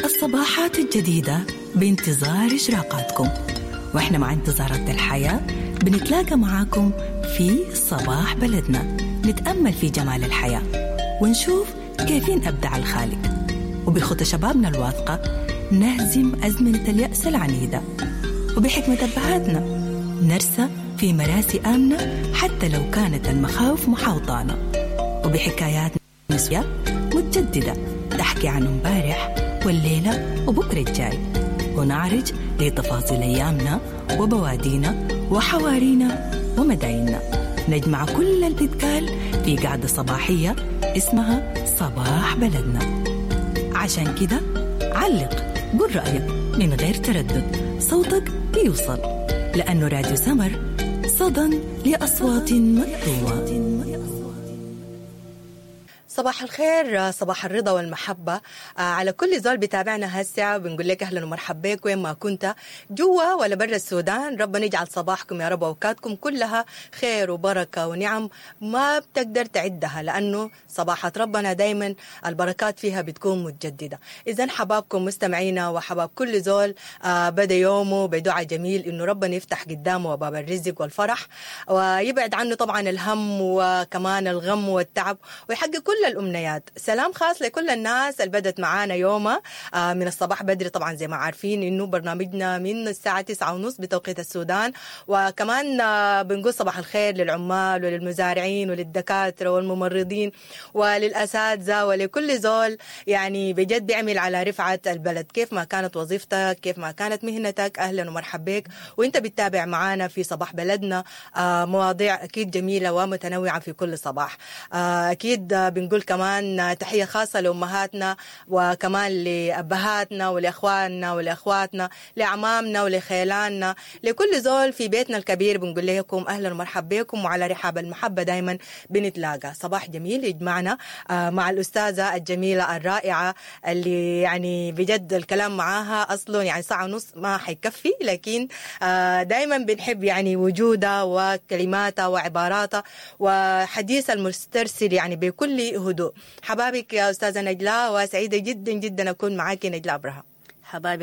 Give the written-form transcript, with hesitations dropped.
الصباحات الجديدة بانتظار إشراقاتكم، وإحنا مع انتظارات الحياة بنتلاقى معاكم في صباح بلدنا، نتأمل في جمال الحياة ونشوف كيفين أبدع الخالق، وبخطى شبابنا الواثقة نهزم أزمنة اليأس العنيدة، وبحكمة أبهاتنا نرسى في مراسي آمنة حتى لو كانت المخاوف محاوطانا، وبحكايات نسوية متجددة تحكي عن امبارح والليلة وبكرة الجاي، ونعرج لتفاصيل أيامنا وبوادينا وحوارينا ومدايننا. نجمع كل اللي بيتقال في قعدة صباحية اسمها صباح بلدنا. عشان كده علق، قل رأيك من غير تردد، صوتك بيوصل، لأنه راديو سمر صدى لأصوات مكتومة. صباح الخير، صباح الرضا والمحبة على كل زول بتابعنا هسه. بنقول لك أهلا ومرحبا بك وين ما كنت، جوا ولا برا السودان. ربنا يجعل صباحكم يا رب وأوقاتكم كلها خير وبركة ونعم ما بتقدر تعدها، لأنه صباحات ربنا دايما البركات فيها بتكون متجددة. إذا حبابكم مستمعينا وحباب كل زول بدأ يومه بدعاء جميل إنه ربنا يفتح قدامه باب الرزق والفرح، ويبعد عنه طبعا الهم وكمان الغم والتعب، ويحقق كل الأمنيات. سلام خاص لكل الناس اللي بدت معانا يومها من الصباح بدري. طبعا زي ما عارفين إنه برنامجنا من الساعة 9:30 بتوقيت السودان. وكمان بنقول صباح الخير للعمال وللمزارعين وللدكاترة والممرضين وللأساتذة ولكل زول يعني بجد بيعمل على رفعة البلد، كيف ما كانت وظيفتك، كيف ما كانت مهنتك. أهلا ومرحبا بك وانت بتتابع معانا في صباح بلدنا، مواضيع أكيد جميلة ومتنوعة في كل صباح. أكيد بنقول كمان تحية خاصة لأمهاتنا وكمان لأبهاتنا ولأخواننا ولأخواتنا، لأعمامنا ولخيلاننا، لكل زول في بيتنا الكبير. بنقول لكم أهلا ومرحبا بكم، وعلى رحاب المحبة دايما بنتلاقى. صباح جميل يجمعنا مع الأستاذة الجميلة الرائعة اللي يعني بجد الكلام معاها أصلا يعني ساعة ونص ما حيكفي، لكن دايما بنحب يعني وجودها وكلماتها وعباراتها وحديث المسترسل يعني بكل هدوء. حبابك يا أستاذة نجلاء، وسعيدة جدا جدا أكون معاكي نجلاء أبراهام. حبايبك